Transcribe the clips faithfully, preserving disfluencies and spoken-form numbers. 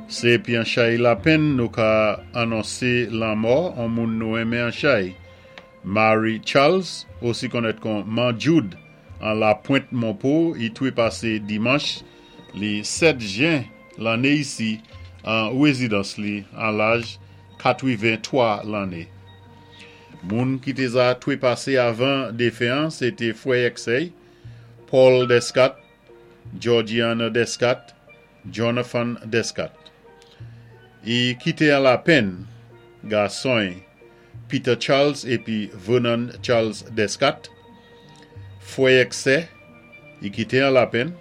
Sé épi an chay lapenn nou ka anonsé lanmò an moun nou enmen an chay. Mary Charles, osi konnèt kon Man Jude, an La Pointe Monpo, i twé pasé dimanch li sèt jen lanné isi an wézidans li an laj katwiven-twa lanné. Moun ki té za twé pasé avan défen an, sé té fwè èk sè, Paul Descat, Georgiana Descat, Jonathan Descat. I kité an lapenn, gason Peter Charles épi Vernon Charles Descat, fwè èk sè, i kité an lapenn,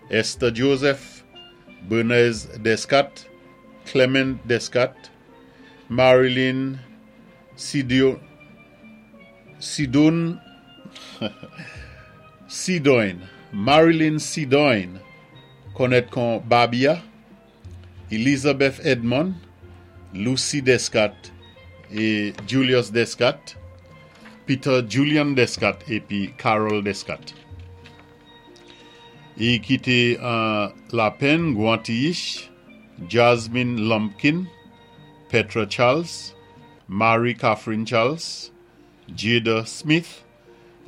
Esther Joseph, Bernez Descat, Clement Descat, Marilyn Sidio, Sidon, Sidoine, Marilyn Sidoine, konnèt kon Babia, Elizabeth Edmond, Lucy Descat é Julius Descat, Peter Julian Descat épi Carol Descat. I kité an lapenn Guantiish, Jasmine Lumpkin, Petra Charles, Mary Catherine Charles, Jada Smith,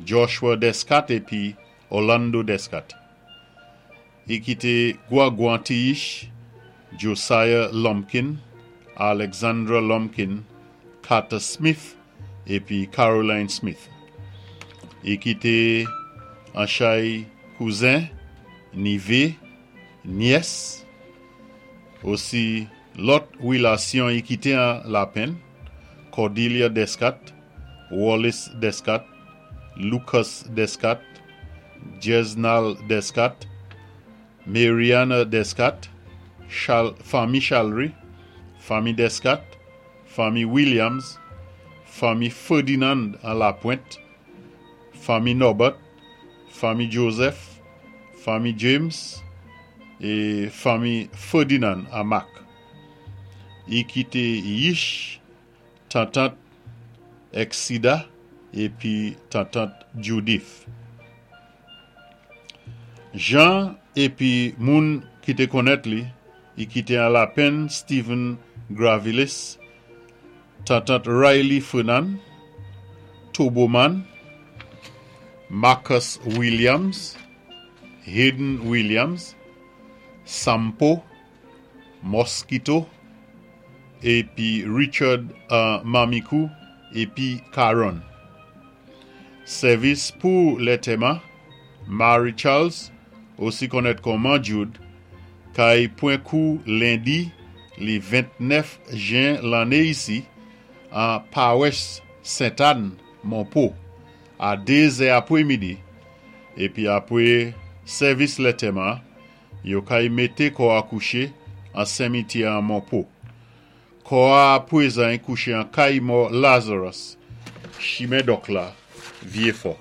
Joshua Descat épi Orlando Descat. I kité Guaguantiish, Josiah Lumpkin, Alexandra Lumpkin, Carter Smith épi Caroline Smith. I kité an chay kouzen, nivé, nyès, osi lòt wilasyon i kité an lapenn, Cordelia Descat, Wallace Descat, Lucas Descat, Jesnal Descat, Mariana Descat, Chal, fanmi Chalry, fanmi Descat, fanmi Williams, fanmi Ferdinand an La Pointe, fanmi Norbert, fanmi Joseph, fanmi James é fanmi Ferdinand a Mac. I kité Yish, tantant Exida épi tantant Judith. Jean épi moun ki té konnèt li, i kité an lapenn Stephen Gravilis, tantant Riley Fernand, Turboman, Marcus Williams, Hayden Williams, Sampo, Mosquito, épi Richard uh, Mamikou, épi Caron. Sèvis pou lantèman, Mary Charles, osi konnèt kon Man Jude, kay pwan kou lendi li ventnèf jen lanné isi an Pawès Sainte-Anne, Monpo, a dézè apwé midi. Épi apwé sèvis lantèman, yo kay mété kò a kouché an simityè an Monpo. Kò a pwézan kouché an kay mò Lazarus, chimen Dòk la, Vyé Fò.